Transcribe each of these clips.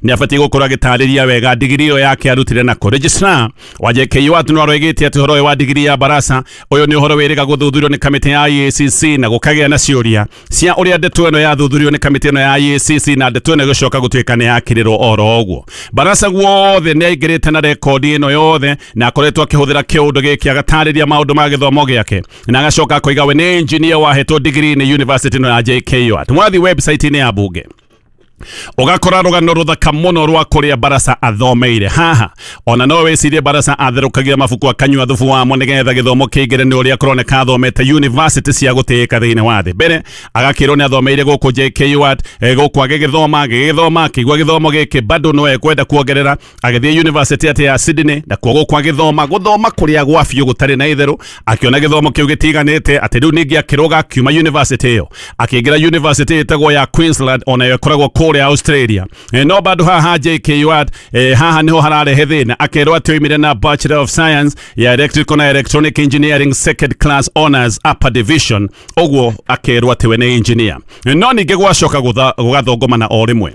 Nĩ abatiĩ gũkorwo agĩtarĩria wega digiri ĩyo yake arutire nako. Registrar wa JKUAT no aroigĩte atĩ ũhoro ũyũ wa digiri ya Barasa ũyũ nĩ ũhoro wĩrĩga gũthuthurio nĩ kamĩtĩ ya EACC na gũkagĩa na ciũria cia ũrĩa ndeto ĩno yathuthurio nĩ kamĩtĩ ĩno ya EACC na ndeto ĩno ĩgĩcoka gũtuĩka nĩ yakĩrĩrwo oro ũguo. Barasa guothe nĩ aingĩrĩte na rekondi ĩno yothe na akoretwo akĩhũthĩra kĩũndũ gĩkĩ agatarĩria maũndũ ma gĩthomo gĩake na agacoka akoiga we nĩ engineer wahetwo degree nĩ university ĩno ya JKUAT. Mwathiĩ website-inĩ ya bunge ũgakora rũgano rũthaka mũno rwa kũrĩa Barasa athomeire. Haha ona no wĩcirie Barasa atherũkagia mabuku akanyua thubu wamo nĩgetha gĩthomo kĩingĩre nĩ ũrĩa kũroneka athomete university cia gũtĩĩka thĩinĩ wa thĩ. Mbere agakĩrwo nĩ athomeire gũkũ JKUAT, gũkũ agĩgĩthoma agĩgĩthoma akĩigua gĩthomo gĩkĩ bado no ekwenda kuongerera, agĩthiĩ university atĩ ya Sydney na kuo gũkũ agĩthoma gũthoma kũrĩa gwa biũ gũtarĩ na itherũ, akĩona gĩthomo kĩu gĩtiganĩte atĩ rĩu ningĩ akĩrũga akiuma university ĩyo akĩingĩra university ĩtagwo ya Queensland onayo ĩkoragwo kũrĩa Australia. No bado haha JKUAT, haha niho hararehe thĩna, akerwo atĩ oimire na Bachelor of Science ya Electrical na Electronic Engineering Second Class Honors Upper Division, ũguo akerwo atĩ we nĩ engineer. No ningĩ gwacoka gũgathũngũmana o rĩmwe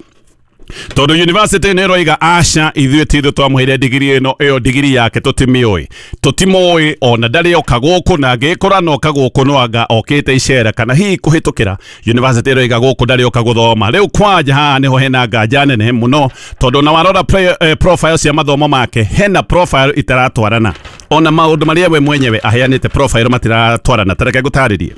tondũ university nĩ ĩroiga aca ithuĩ ti ithuĩ twamũheire digiri ĩno, ĩyo digiri yake tũtimĩũĩ, tũtimũĩ ona ndarĩ oka gũkũ, na angĩkora noka gũkũ no anga okĩte icera kana hihi kũhĩtũkĩra. University ĩroiga gũkũ ndarĩ oka gũthoma. Rĩu kwanja haha nĩho hena nganja nene mũno tondũ na warora profile cia mathomo make hena profile itaratwarana, ona maũndũ marĩa we mwenyewe aheanĩte profile matiratwarana. Ta reke ngũtarĩrie.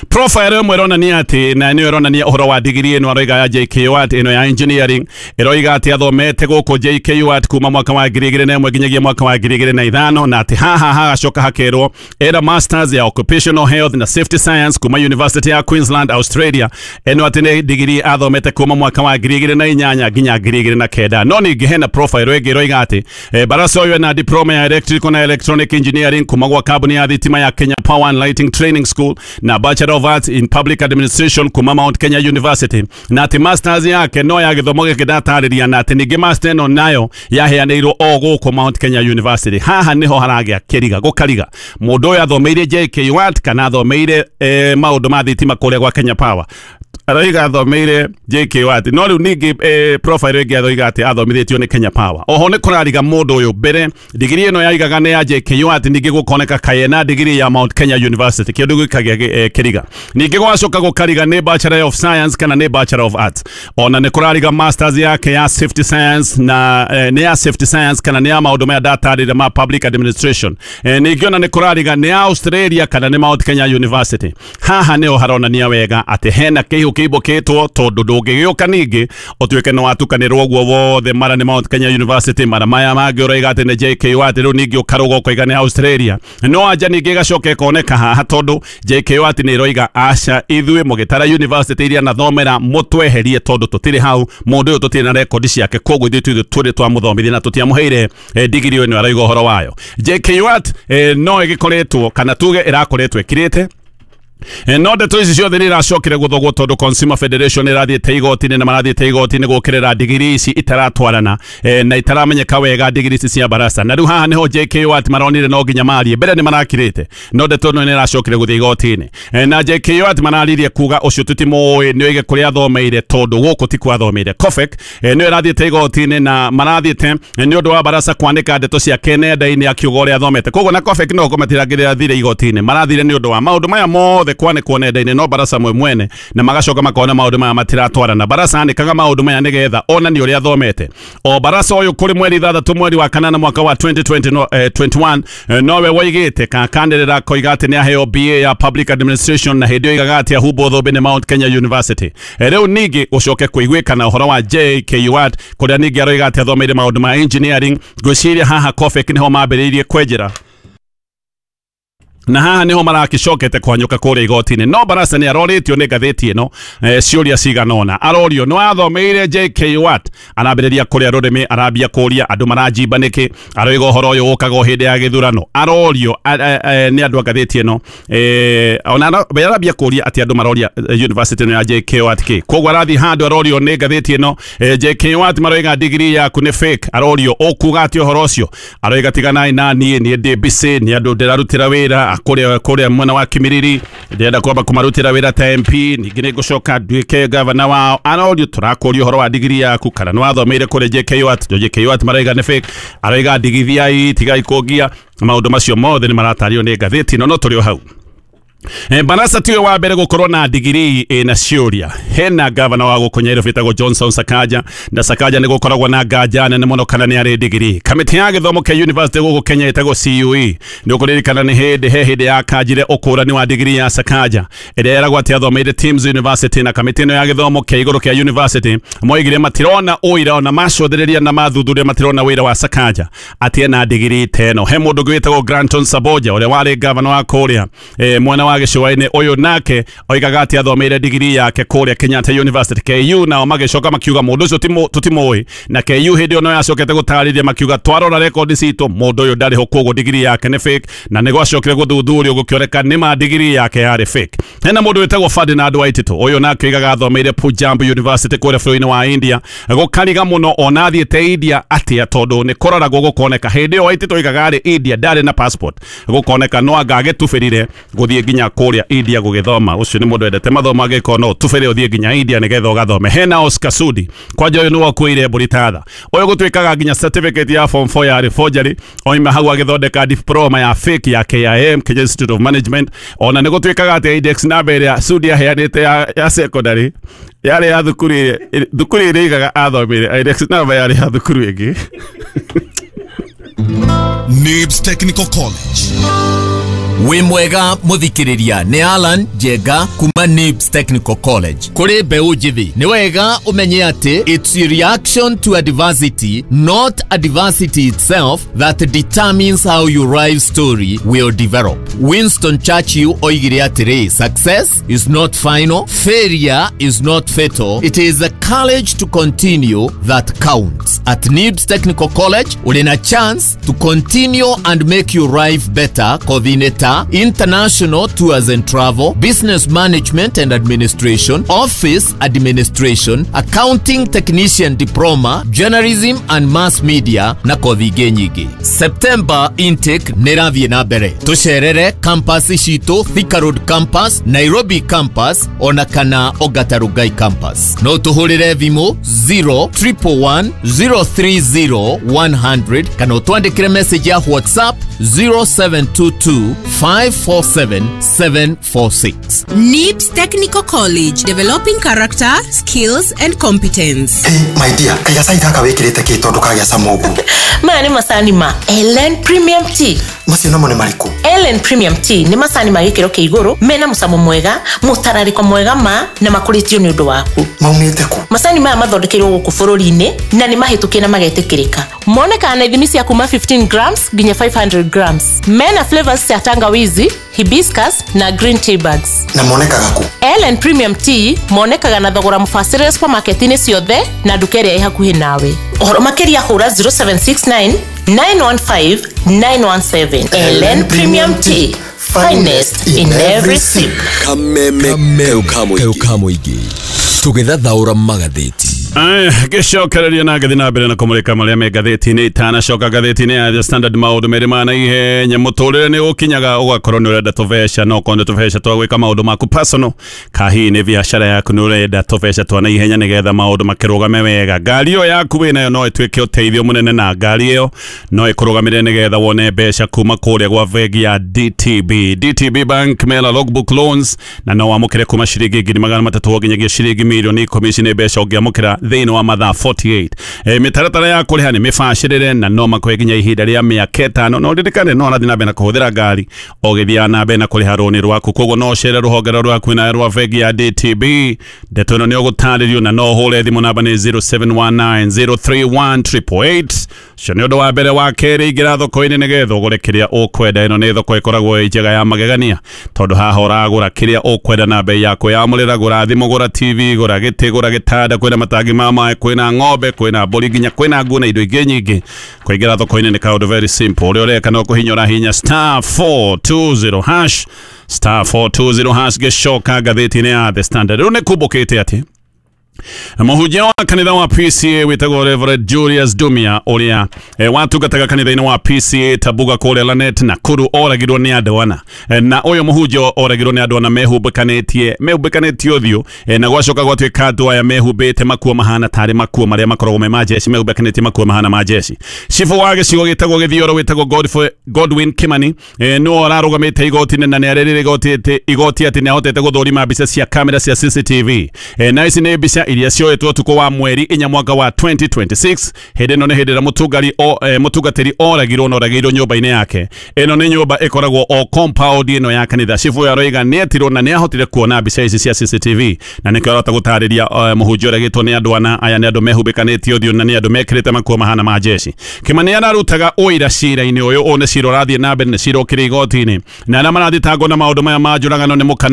Profile ĩmwe ĩronania atĩ na nĩyo ĩronania ũhoro wa digiri ĩno aroiga ya JKUAT ĩno ya engineering, ĩroiga atĩ athomete gũkũ JKUAT kuma mwaka wa 2001 nginyagia mwaka wa 2005, na atĩ haha hagacoka hakerwo era masters ya occupational health na safety science kuma University ya Queensland Australia, ĩno atĩ nĩ digiri athomete kuma mwaka wa 2008 nginya 2009. No ningĩ hena profile ĩngĩ ĩroiga atĩ Barasa ũyũ ena diploma ya electrical na electronic engineering kuma gwa kambuni ya thitima ya Kenya Power and Lighting Training School na Bachelor of Arts in Public Administration kuma Mount Kenya University, na atĩ masters yake no ya gĩthomo gĩkĩ ndatarĩria, na atĩ ningĩ master ĩno nayo yaheanĩirwo o gũkũ Mount Kenya University. Haha nĩho haragĩa kĩriga gũkariga mũndũ ũyũ athomeire JKUAT kana athomeire maũndũ ma thitima kũrĩa gwa Kenya Power. Aroiga athomeire JKUAT, no rĩu ningĩ profile ĩngĩ aroiga atĩ athomithĩtio nĩ Kenya Power. Oho nĩ kũrariga mũndũ ũyũ mbere digiri ĩno yaigaga nĩ ya JKUAT, ningĩ gũkoneka kayena digiri ya Mount Kenya University, kĩndũ gĩkagĩa kĩriga. Ningĩ gwacoka gũkariga nĩ Bachelor of Science kana nĩ Bachelor of Arts. Ona nĩ kũrariga masters yake ya safety science na nĩ ya safety science kana nĩ ya maũndũ maya ndatarĩria ma public administration. Ningĩ ona nĩ kũrariga nĩ ya Australia kana nĩ Mount Kenya University. Haha nĩho haronania wega atĩ hena kĩihũ kĩimbũkĩtwo tondũ ndũngĩgĩũka ningĩ ũtuĩke nĩ watukanĩrwo ũguo wothe, mara nĩ Mount Kenya University, mara maya mangĩ ũroiga atĩ nĩ JKUAT, rĩu ningĩ ũkarũga ũkoiga nĩ Australia. No anja ningĩ ĩgacoka ĩkoneka haha tondũ JKUAT nĩ ĩroiga aca ithuĩ mũgĩtara university iria nathomera mũtweherie tondũ tũtirĩ hau, mũndũ ũyũ tũtirĩ na rekondi ciake, koguo ithuĩ tũrĩ twamũthomithia na tũtiamũheire digiri ĩno aroiga ũhoro wayo. JKUAT no ĩgĩkoretwo kana tuge ĩrakoretwo ĩkirĩte. No ndeto ici ciothe nĩ iracokire gũthogwo tondũ Consumer Federation ĩrathiĩte igoti-inĩ na marathiĩte igoti-inĩ gũkĩrĩra digiri ici itaratwarana na itaramenyeka wega digiri ici cia Barasa. Na rĩu haha nĩho JKUAT maronire no nginya marie, mbere nĩ marakirĩte no ndeto ĩno nĩ ĩracokire gũthiĩ igoti-inĩ. Na JKUAT mararirie kuga ũcio tũtimũĩ nĩ oige kũrĩa athomeire tondũ gũkũ ti kwathomeire. COFEC nĩyo ĩrathiĩte igoti-inĩ na marathiĩte nĩ ũndũ wa Barasa kwanĩka ndeto ciake nenda-inĩ akiuga ũrĩa athomete, koguo na COFEC no matirangĩrathire igoti-inĩ, marathire nĩ ũndũ wa maũndũ maya mothe kwanĩkwo nenda-inĩ no Barasa mwe mwene, na magacoka makona maũndũ maya matiratwarana. Barasa anĩkaga maũndũ maya nĩgetha onanie ũrĩa athomete. O Barasa ũyũ kũrĩ mweri 6 mweri wa 8 mwaka wa 2021 nowe woigĩte kakanĩrĩra koiga atĩ nĩ aheo BA ya Public Administration na hĩndĩ ĩyo oigaga atĩ ahumbwo thũmbĩ nĩ Mount Kenya University. Rĩu ningĩ gũcoke kũiguĩkana ũhoro wa JKUAT kũrĩa ningĩ aroiga atĩ athomeire maũndũ ma engineering. Ngwĩciria haha COFEC nĩho mambĩrĩirie kwenjera na haha niho marakicokete kwanyuka kuria igoti-inĩ. No Barasa nĩ arorĩtio nĩ ngathĩti ĩno ciũria cigana ũna. Arorio nĩ wathomeire JKUAT, arambĩrĩria kũrĩa rũrĩmĩ, arambia kũria andũ maranjimba nĩkĩ, aroiga ũhoro ũyũ ũkaga o hĩndĩ ya gĩthurano. Arorio nĩ andũ a ngathĩti ĩno, ona arambia kũria atĩ andũ maroria university ĩno ya JKUAT kĩ. Koguo arathiĩ handũ arorio nĩ ngathĩti ĩno, JKUAT maroiga degree yaku nĩ fake. Arorio ũkuga atĩ ũhoro ũcio, aroiga tiganai na niĩ, niĩ ndĩ busy, nĩ andũ ndĩrarutĩra wĩra. wa kuria mwena wa Kimiriri, ndĩrenda kwamba kũmarutĩra wĩra ta MP, ningĩ nĩ ngũcoka nduĩke gavana wao. Arorio tũrakũria ũhoro wa digiri yaku kana nĩ wathomeire kũrĩa JKUAT. JKUAT maraiga nĩ fake, araiga ndigithiai tigai kũngia. Maũndũ macio mothe nĩ maratario nĩ ngathĩti no tũrĩ o hau. Barasa tiwe wa mbere gukorwo na digiri na ciũria. Hena gavana wa gũkũ Nairobi etagwo Johnson Sakaja, na Sakaja nĩ gũkoragwo na nganja nene mũno kana nĩ arĩ digiri. Kamĩtĩ ya gĩthomo kĩa university gũkũ Kenya ĩtagwo CUE nĩ ũkũririkana nĩ hĩndĩ he hĩndĩ ya kanjire ũkũrani wa digiri ya Sakaja ĩrĩa yeragwo atĩ athomeire Tims University, na kamĩtĩ ĩno ya gĩthomo kĩa igũrũ kĩa university moigire matirona ũira ona macũthĩrĩria na mathuthuria matirona wĩra wa Sakaja atĩ ena digiri ta ĩno. He mũndũ ũngĩ wĩtagwo Granton Saboja ũrĩa warĩ gavana wa kũrĩa mwena wa gĩcũa-inĩ, ũyũ nake oigaga atĩ athomeire digiri yake kũrĩa Kenyatta University KU, nao magĩcoka makiuga mũndũ ũcio tũtimũĩ, na KU hĩndĩ ĩyo no yacokete gũtarĩria makiuga twarora rekondi citũ mũndũ ũyũ ndarĩ ho, koguo digiri yake nĩ fake, na nĩ gwacokire gũthuthurio gũkĩoneka nĩ ma digiri yake yarĩ fake. Hena mũndũ wĩtagwo Ferdinand Waititu, ũyũ nake oigaga athomeire Punjab University kũrĩa bũrũri-inĩ wa India, gũkariga mũno ona athiĩte India atĩa tondũ nĩ kũroragwo gũkoneka hĩndĩ ĩyo Waititu oigaga arĩ India ndarĩ na passport, gũkoneka no anga agĩtubĩrire gũthiĩ nginya kũrĩa India gũgĩthoma. Ũcio nĩ mũndũ wendete mathomo, angĩkorwo no tubĩre ũthiĩ nginya India nĩgetha ũgathome. Hena Oscar Sudi, kwanja ũyũ nĩwe ũkuĩire mbũri ta tha, ũyũ gũtuĩkaga nginya certificate ya form 4 yarĩ forgery, oima hau agĩthondeka diploma ya fake ya KIM, Kenya Institute of Management. Ona nĩ gũtuĩkaga atĩ index number ĩrĩa Sudi aheanĩte ya secondary yarĩ ya thukuru ĩrĩa igaga athomeire, index number yarĩ ya thukuru ĩngĩ. Nibs Technical College. Wĩ mwega mũthikĩrĩria, nĩ Alan Njenga kuma Nibs Technical College. Kũrĩ mbeũ njĩthĩ, nĩ wega ũmenye atĩ it's a reaction to adversity, not adversity itself, that determines how your life story will develop. Winston Churchill oigire atĩrĩ, success is not final, failure is not fatal, it is the courage to continue that counts. At Nibs Technical College, ũrĩ na chance to continue and make your life better. Coordinator, international tours and travel, business management and administration, office administration, accounting technician diploma, journalism and mass media na kothi ingĩ nyingĩ. September intake nĩ ĩrathiĩ na mbere. Tũcerere campus citũ, Thika Road campus, Nairobi campus ona kana Ongata Rongai campus. No tũhũrĩre thimũ 0111 030 100 kana ũtwandĩkĩre message ya WhatsApp 0722 547 746. Nibs Technical College, developing character, skills and competence. Hey, my dear, kaya sai gaka wikirite ki tondu kagĩa cama ũguo. Maya nĩ macani ma Ellen Premium Tea. Macio namo nĩ marĩkũ? Ellen Premium Tea nĩ macani ma gĩkĩro kĩa igũrũ mena mũcamo mwega, mũtararĩko mwega ma na makũrĩtio nĩ ũndũ waku. Maumĩte kũ? Macani maya mathondekeirwo gũkũ bũrũri-inĩ na nĩ mahĩtũkie na magetĩkĩrĩka. Monekaga na ithimi cia kuma 15 grams nginya 500 grams. Mena flavors cia tangawizi, hibiscus na green tea bags. Na monekaga kũ? Ellen Premium Tea monekaga na thogora mũbacĩrĩre supermarket-inĩ ciothe na nduka ĩrĩa ĩ hakuhĩ nawe. Ũhoro makĩria hũra 0769 915 917. Ellen Premium Tea, finest in every sip. Kameme kaukamuigi tũgĩthathaũra magathĩti. Gĩcokereria na ngathĩ na mbere na kũmũrĩka marĩa me ngathĩti-inĩ. Itanacoka ngathĩti-inĩ ya The Standard, maũndũ merĩ ma naihenya. Mũtũrĩre nĩ ũkinyaga ũgakorwo nĩ ũrenda tũbeca, no okorwo nĩ tũbeca twa gwĩka maũndũ maku personal, kahihi nĩ biacara yaku nĩ ũrenda tũbeca twa naihenya nĩgetha maũndũ makĩrũgame wega. Ngari ĩyo yaku wĩnayo no ĩtuĩke ũteithio mũnene, na ngari ĩyo no ĩkũrũgamĩrĩre nĩgetha wone mbeca kuma kũrĩa gwa bengi ya DTB. DTB Bank mena logbook loans, na no wamũkĩre kuma ciringi 300,000 nginyagia ciringi 10,000,000. Ici nĩ mbeca ũngĩamũkĩra thĩinĩ wa mathaa 48. Mĩtaratara ya kũrĩha nĩ mĩbacĩrĩre na no makũhe nginya ihinda rĩa mĩaka 5. No ririkane no ũrathiĩ na mbere na kũhũthĩra ngari ũgĩthiaga na mbere na kũrĩha rũni rwaku, koguo no ũcere rũhonge rwaku na rwa bengi ya DTB. Ndeto ĩno nĩ ũgũtarĩrio na no ũhũre thimũ namba nĩ 0719 031 888. Ũcio nĩ ũndũ wa mbere. Wa kerĩ, ingĩra thoko-inĩ nĩgetha ũgũre kĩrĩa ũkwenda. Ĩno nĩ thoko ĩkoragwo ĩ njega ya magegania tondũ haha ũragũra kĩrĩa ũkwenda na bei yaku yamũrĩra. Gũra thimũ, gũra TV, gũra gĩtĩ, gũra gĩtanda, kwĩna matangi ma maĩ, kwĩna ng'ombe, kwĩna mbũri, nginya kwĩna nguo na indo ingĩ nyingĩ. Kũingĩra thoko-inĩ nĩ kaũndũ very simple. Ũrĩa ũreka no kũhinya ũrahinya star 420 hash, star 420 hash. Gĩcoka ngathĩti-inĩ ya The Standard, rĩu nĩ kumbũkĩte atĩ Mũhunjia wa kanitha wa PCA wĩtagwo Reverend Julius Dumia ũrĩa watungataga kanitha-inĩ wa PCA Tabuga kũrĩa Lanet Nakuru oragirwo nĩ andũ ana. Na ũyũ mũhunjia oragirwo nĩ andũ ana mehumbĩkanĩtie ũthiũ, na gwacoka gwatuĩka andũ aya mehumbĩte makuo mahana tarĩ makuo marĩa makoragwo me ma jeshi, mehumbĩkanĩtie makuo mahana ma jeshi. Cibũ wa gĩcigo gĩtagwo Gĩthioro wĩtagwo Godwin Kimani nĩwe ũrarũgamĩte igoti-inĩ na nĩarĩrĩire igoti atĩ nĩahotete gũthũrima mbica cia kamera cia CCTV. Na ici nĩ mbica iria cioetwo ũtukũ wa mweri 4 mwaka wa 2026. Hĩndĩ ĩno nĩ hĩndĩ ĩrĩa mũtungatĩri oragirwo na oragĩirwo nyũmba-inĩ yake. Ĩno nĩ nyũmba ĩkoragwo o compound ĩno ya kanitha. Cibũ ũyũ aroiga nĩetirwo na nĩahotire kuona mbica ici cia CCTV na nĩkĩo arahota gũtarĩria mũhunjia ũragĩtwo nĩ andũ ana. Aya nĩ andũ mehumbĩkanĩtie ũthiũ na nĩ andũ mekĩrĩte makuo mahana ma jeshi. Kimani ararutaga ũira cira-inĩ ũyũ. Ũyũ nĩ cira ũrathiĩ na mbere, nĩ cira ũkĩrĩ igoti-inĩ, na arĩa marathitangwo na maũndũ maya ma njũragano nĩ mũka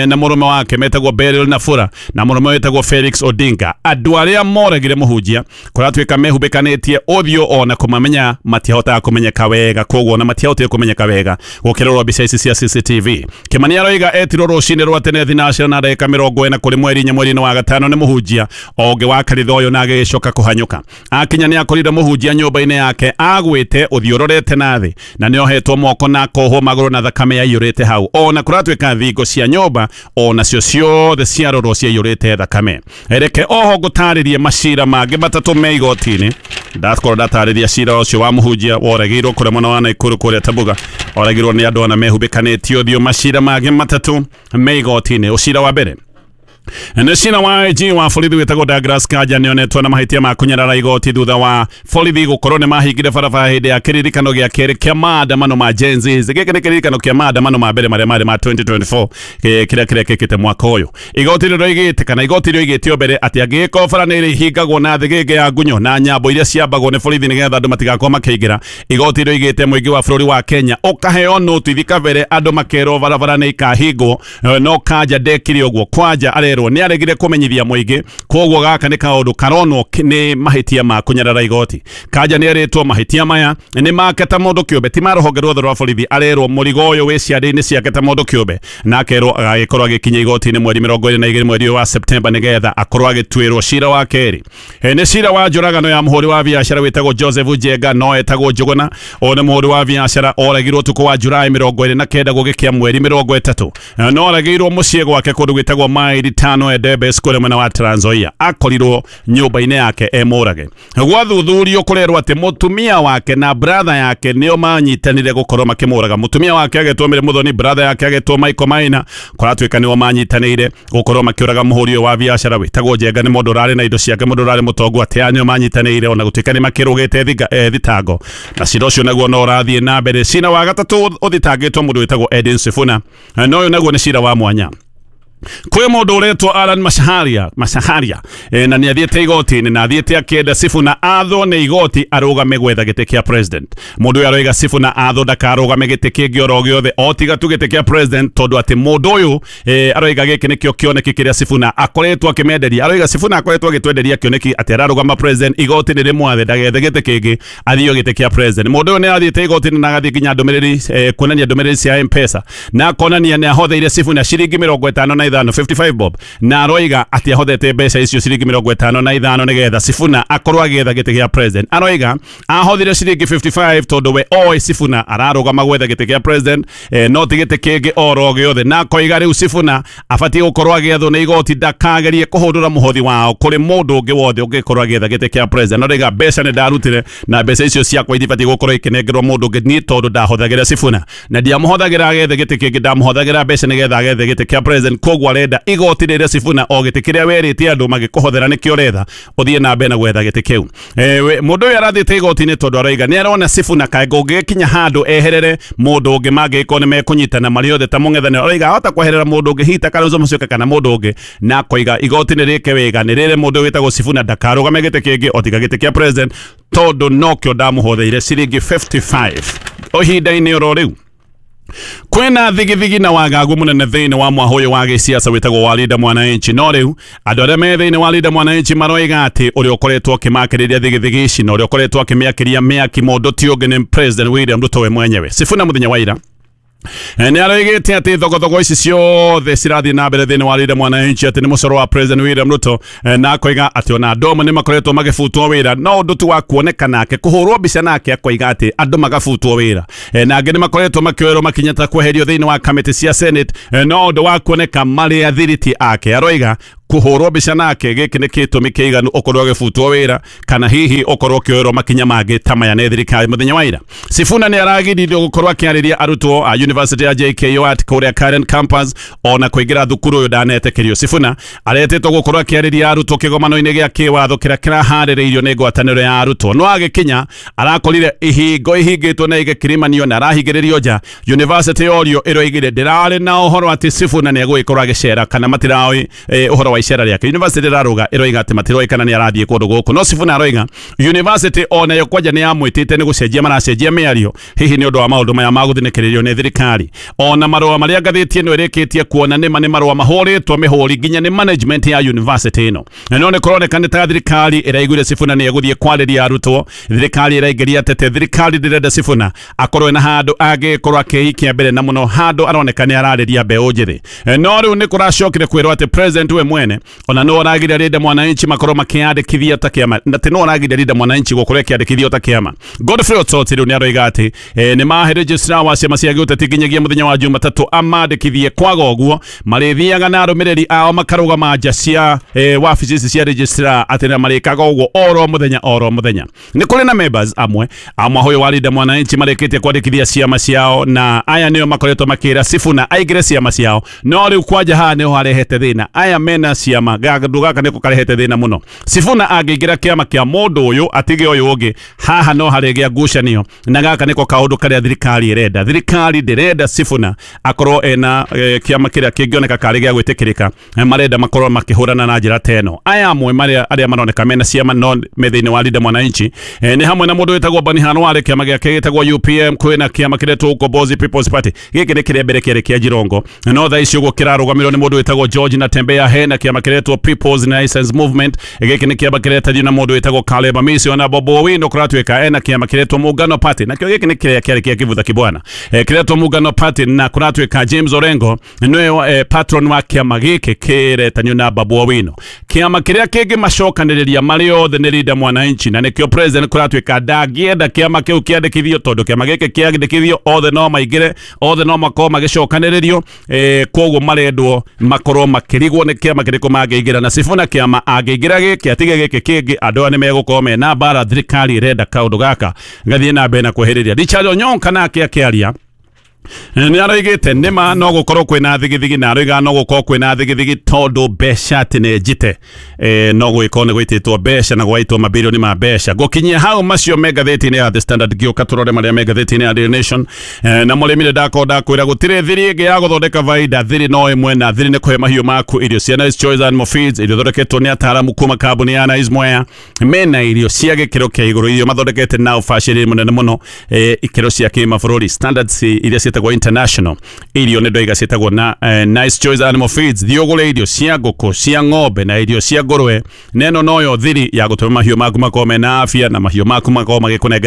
na mũrũme wake metagwo Beryl Nafura na mũrũme wĩtagwo Felix Odinga. Andũ arĩa moragire mũhunjia kũratuĩka mehumbĩkanĩtie ũthiũ ona kũmamenya matihotaga kũmenyeka wega, koguo ona matiahotire kũmenyeka wega gũkĩrorwo mbica ici cia CCTV. Kimani aroiga etirwo rũcinĩ rwa tene thinacera na ndagĩka 40 kũrĩ mweri 4 mweri-inĩ wa 5 nĩ mũhunjia ũngĩ wa kanitha ũyũ na agĩcoka kũhanyũka. Akinya nĩ akorire mũhunjia nyũmba-inĩ yake agwĩte ũthiũ ũrorete na thĩ na nĩohetwo moko na akohwo magũrũ na thakame yaiyũrĩte hau. Ona kũratuĩka thingo cia nyũmba ona cio ciothe ciarorwo ciaiyũrĩte thakame. Reke oho ngũtarĩrie macira mangĩ matatũ me igoti-inĩ. Ndakorwo ndatarĩria cira ũcio wa mũhunjia woragĩirwo kũrĩa mwena wa Nakuru kũrĩa Tabuga, oragĩirwo nĩ andũ ana mehumbĩkanĩtie ũthiũ. Macira mangĩ matatũ me igoti-inĩ. Ũcira wa mbere nĩ cira wa IG wa borithi wĩtagwo Douglas Kanja nĩonetwo na mahĩtia ma kũnyarara igoti thutha wa borithi gũkorwo nĩ mahingire barabara hĩndĩ ya kĩririkano gĩa kerĩ kĩa maandamano ma Gen Z. Gĩkĩ nĩ kĩririkano kĩa maandamano ma mbere marĩa marĩ ma 2024 kĩrĩa kĩrekĩkĩte mwaka ũyũ. Igoti rĩroigĩte kana igoti rĩoigĩte mbere atĩ angĩgĩkorwo bara nĩ ĩrĩhingagwo na thĩgĩngĩ ya ngunyo na nyambo iria ciambagwo nĩ borithi nĩgetha andũ matigakorwo makĩingĩra, igoti rĩoigĩte mũingĩ wa bũrũri wa Kenya ũkaheo notithi kabere andũ makerwo barabara nĩ ikahingwo. No Kanja ndekire ũguo. Kwanja arerwo nĩ aregire kũmenyithia mũingĩ, koguo gaka nĩ kaũndũ karonwo nĩ mahĩtia ma kũnyarara igoti. Kanja nĩ erĩtwo mahĩtia maya nĩ make ta mũndũ kĩũmbe, ti ma rũhonge ruothe rwa borithi. Arerwo mũrigo ũyũ wĩ ciande-inĩ ciake ta mũndũ kĩũmbe, na akerwo agagĩkorwo agĩkinya igoti-inĩ mweri 22 mweri wa Septemba nĩgetha akorwo agĩtuĩrwo cira wa kerĩ. Nĩ cira wa njũragano ya mũhũri wa biacara wĩtagwo Joseph Njenga no etagwo Njũgũna. Ũyũ nĩ mũhũri wa biacara oragirwo ũtukũ wa Julai 29 gũgĩkĩa mweri 30. No oragĩirwo mũciĩ gwake kũndũ gwĩtagwo Maili 5 Endebess kũrĩa mwena wa Trans Nzoia. Akorirwo nyũmba-inĩ yake emũrage. Gwathuthurio kũrerwo atĩ mũtumia wake na brother yake nĩo manyitanire gũkorwo makĩmũraga. Mũtumia wake agetwo Mary Muthoni, brother yake agetwo Michael Maina. Kũratuĩka nĩo manyitanĩire gũkorwo makĩũraga mũhũri ũyũ wa biacara wĩtagwo Njenga. Nĩ mũndũ ũrarĩ na indo ciake, mũndũ ũrarĩ mũtongu, atĩ aya nĩo manyitanĩire ona gũtuĩka nĩ makĩrũgĩte thitango. Na cira ũcio naguo no ũrathiĩ na mbere. Cira wa gatatũ ũthitangĩtwo mũndũ wĩtagwo Edin Sifuna, na ũyũ naguo nĩ cira wa mwanya. Kwĩ mũndũ ũretwo Alan Machaharia na nĩ athiĩte igoti-inĩ na athiĩte akĩenda Sifuna athwo nĩ igoti arũgame gwetha gĩtĩ kĩa president. Mũndũ ũyũ aroiga Sifuna athwo ndakarũgame gĩtĩ kĩngĩ oro gĩothe o tiga tu gĩtĩ kĩa president, tondũ atĩ mũndũ ũyũ aroiga gĩkĩ nĩkĩo kĩoneki kĩrĩa Sifuna akoretwo akĩmenderia. Aroiga Sifuna akoretwo agĩtwenderia kĩoneki atĩ ararũgama president, igoti nĩ rĩmwathe ndagethe gĩtĩ kĩngĩ athio gĩtĩ kĩa president. Mũndũ ũyũ nĩ athiĩte igoti-inĩ na agathiĩ nginya ndũmĩrĩri kuonania ndũmĩrĩri cia M-Pesa na akonania nĩ ahotheire Sifuna ciringi 55 55 bob, na aroiga atĩ ahothete mbeca icio ciringi 55 nĩgetha Sifuna akorwo agĩetha gĩtĩ gĩa president. Aroiga ahothire ciringi 55 tondũ we oĩ Sifuna ararũgama gwetha gĩtĩ kĩa president, no ti gĩtĩ kĩngĩ oro gĩothe. Na akoiga rĩu Sifuna abatiĩ gũkorwo agĩethwo nĩ igoti ndakagerie kũhũndũra mũhothi wao kũrĩ mũndũ ũngĩ wothe ũngĩkorwo agĩetha gĩtĩ kĩa president. Aroiga mbeca nĩ ndarutire na mbeca icio ciakwa itibatiĩ gũkorwo ikĩnengerwo mũndũ ũngĩ niĩ tondũ ndahothagĩra Sifuna na ndiamũhothagĩra agethe gĩtĩ kĩngĩ, ndamũhothagĩra mbeca nĩgetha agethe gĩtĩ kĩa president. Koguo arenda igoti rĩrĩa Sifuna o gĩtĩ kĩrĩa werĩte andũ magĩkũhothera nĩkĩo ũretha ũthiĩ na mbere na gwetha gĩtĩ kĩu. Mũndũ ũyũ arathiĩte igoti-inĩ tondũ aroiga nĩ arona Sifuna kaĩ kũngĩkinya handũ eherere mũndũ ũngĩ mangĩgĩkorwo nĩ mekũnyitana marĩ othe ta mũng'ethanĩro. Aroiga ahota kweherera mũndũ ũngĩ hihi ta Kalonzo Musyoka kana mũndũ ũngĩ, na akoiga igoti nĩ rĩke wega nĩ rĩre mũndũ wĩtagwo Sifuna ndakarũgame gĩtĩ kĩngĩ o tiga gĩtĩ kĩa president tondũ nokĩo ndamũhotheire ciringi 55 ihinda-inĩ oro rĩu. Kwĩna thigithigi na wagagu mũnene thĩinĩ wa mwahũ ũyũ wa gĩciaca wĩtagwo wa Linda Mwananchi. No rĩu andũ arĩa me thĩinĩ wa Linda Mwananchi maroiga atĩ ũrĩa ũkoretwo akĩmakĩrĩria thigithigi ici na ũrĩa ũkoretwo akĩmĩakĩria mĩaki mũndũ ti ũngĩ nĩ President William Ruto we mwenyewe. Sifuna mũthenya wa ira Nĩ aroigĩte atĩ thogothogo ici ciothe cirathiĩ na mbere thĩinĩ wa Linda Mwananchi atĩ nĩ mũcoro wa President William Ruto, na akoiga atĩ ona andũ amwe nĩ makoretwo magĩbutwo wĩra no ũndũ tu wa kuoneka nake kũhũrwo mbica nake akoiga atĩ andũ magabutwo wĩra, na angĩ nĩ makoretwo makĩoerwo makinya ta kweherio thĩinĩ wa kamĩtĩ cia Senate, no ũndũ wa kuoneka marĩ athiriti ake. Aroiga kuhurwo mbica nake gĩkĩ nĩ gĩtũmi kĩiganu ũkorwo ũgĩbutwo wĩra kana hihi ũkorwo ũkĩoerwo makinya mangĩ ta maya nĩ thirikari. Mũthenya wa ira Sifuna nĩ aragiririo gũkorwo akĩarĩria arutwo a University ya JKUAT kũrĩa Karen campus ona kũingĩra thukuru ũyũ ndanetĩkĩrio. Sifuna aretĩtwo gũkorwo akĩarĩria arutwo kĩgomano-inĩ gĩa kĩwatho kĩrĩa kĩraharĩrĩirio nĩ ngwatanĩro ya arutwo, no agĩkinya arakorire ihingo ihingĩtwo na igĩkirimanio na arahingĩrĩrio nja. University yorio ĩroigire ndĩrarĩ na ũhoro atĩ Sifuna nĩ egũgĩkorwo agĩcera kana matiraoĩ ũhoro wa icera rĩake. University ĩraruga ĩroiga atĩ matiroĩ kana nĩ arathiĩ kũndũ gũkũ, no Sifuna aroiga university onayo kwanja nĩ yamwĩtĩte nĩ gũcenjia maracenjia mĩario hihi nĩ ũndũ wa maũndũ maya ma gũthinĩkĩrĩrio nĩ thirikari. Ona marũa marĩa ngathĩti ĩno ĩrĩkĩtie kuona nĩma nĩ marũa mahũrĩtwo mĩhũri nginya nĩ management ya university ĩno, na no nĩ kũroneka nĩ ta thirikari ĩraiguire Sifuna nĩ egũthiĩ kwarĩria arutwo. Thirikari ĩraingĩria tete, thirikari ndĩrenda Sifuna akorwo na handũ angĩkorwo akĩikia mbere na mũno handũ aroneka nĩ ararĩria mbeũ njĩthĩ. No rĩu nĩ kũracokire kwĩrwo atĩ president we mwene ona no aragiria Linda Mwananchi makorwo makĩandĩkithia ta kĩama, na atĩ no aragiria Linda Mwananchi gũkorwo ĩkĩandĩkithio ta kĩama. Godfrey Otsoti rĩu nĩ aroiga atĩ nĩ mahe registrar wa ciama cia gĩũteti nginyagia mũthenya wa Jumatatũ amandĩkithie, kwaga ũguo marĩthiaga na arũmĩrĩri ao makarũgama nja cia wabici ici cia registrar atĩ na marĩkaga ũguo oro mũthenya oro mũthenya. Nĩ kũrĩ na members amwe a mwahũyũ wa Linda Mwananchi marĩkĩtie kwandĩkithia ciama ciao, na aya nĩo makoretwo makĩra Sifuna aingĩre ciama ciao, no rĩu kwanja haha nĩho harehete thĩna. Aya mena ciama gakũ gaka nĩko karehete thĩna mũno. Sifuna angĩingĩra kĩama kĩa mũndũ ũyũ atige ũyũ ũngĩ, haha no harĩgĩa ngucanio, na gaka nĩko kaũndũ karĩa thirikari ĩrenda. Thirikari ndĩrenda Sifuna akorwo ena kĩama kĩrĩa kĩngĩoneka karĩ gĩa gwĩtĩkĩrĩka, marenda makorwo makĩhũrana na njĩra ta ĩno. Aya amwe marĩa arĩa maroneka mena ciama no me thĩinĩ wa Linda Mwananchi nĩ hamwe na mũndũ wĩtagwo Bani Hanware, kĩama gĩake gĩtagwo UPM, kwĩna kĩama kĩretwo Ukombozi People's Party, gĩkĩ nĩ kĩrĩa mbere kĩarĩ kĩa Jirongo, no thaa ici ũguo kĩrarũgamĩrĩrwo nĩ mũndũ wĩtagwo George Natembeya. Hena kĩama kĩretwo People's Renaissance Movement, gĩkĩ nĩ kĩama kĩretagio na mũndũ wĩtagwo Caleb Amisi, ona Bobo Owino kũratuĩka ena kĩama kĩretwo Muungano Party, nakĩo gĩkĩ nĩ kĩrĩa kĩarĩ kĩa Kivutha Kibwana, kĩretwo Muungano Party, na kũratuĩka James Orengo nĩwe patron wa kĩama gĩkĩ kĩretanio na Babu Owino. Kĩama kĩrĩa kĩngĩ macokanĩrĩria marĩ othe nĩ Linda Mwananchi, na nĩkĩo president kũratuĩka ndangĩenda kĩama kĩu kĩandĩkithio, tondũ kĩama gĩkĩ kĩandĩkithio othe no maingĩre, othe no makorwo magĩcokanĩrĩrio, koguo marendwo makorwo makĩrigwo nĩ kĩama kĩrĩkũ mangĩingĩra. Na Sifuna kĩama angĩingĩra gĩkĩ atige gĩkĩ kĩngĩ, andũ aya nĩ megũkorwo mena mbara. Thirikari ĩrenda kaũndũ gaka gathiĩ na mbere na kwehereria. Richard Onyonka nake akĩaria nĩ aroigĩte nĩma no gũkorwo kwĩna thigithigi, na aroiga no gũkorwo kwĩna thigithigi tondũ mbeca atĩ nĩ njite, no gwĩkorwo nĩ gũitĩtwo mbeca na gwaitwo mabirioni ma mbeca. Gũkinyia hau macio me ngathĩti-inĩ ya The Standard, ngĩũka tũrore marĩa me ngathĩti-inĩ ya Daily Nation. Na mũrĩmi nĩ ndakorwo ndakwĩra gũtirĩ thiri ĩngĩ ya gũthondeka baida, thiri no ĩmwe, na thiri nĩ kũhe mahiũ maku irio cia Nice Choice Animal Feeds, irio ithondeketwo nĩ ataaramu kuma kambuni ya Nice Mwea, mena irio cia gĩkĩro kĩa igũrũ, irio mathondekete na ũbacĩrĩri mũnene mũno, ikĩro cia kĩmabũrũri, standards iria ciĩtagwo international, irio nĩ ndoiga ciĩtagwo na Nice Choice Animal Feeds. Thiĩ ũgũre irio cia ngũkũ, cia ng'ombe na irio cia ngũrwe, na ĩno noyo thiri ya gũtũma mahiũ maku makorwo mena afya na mahiũ maku makorwo magĩkũnengera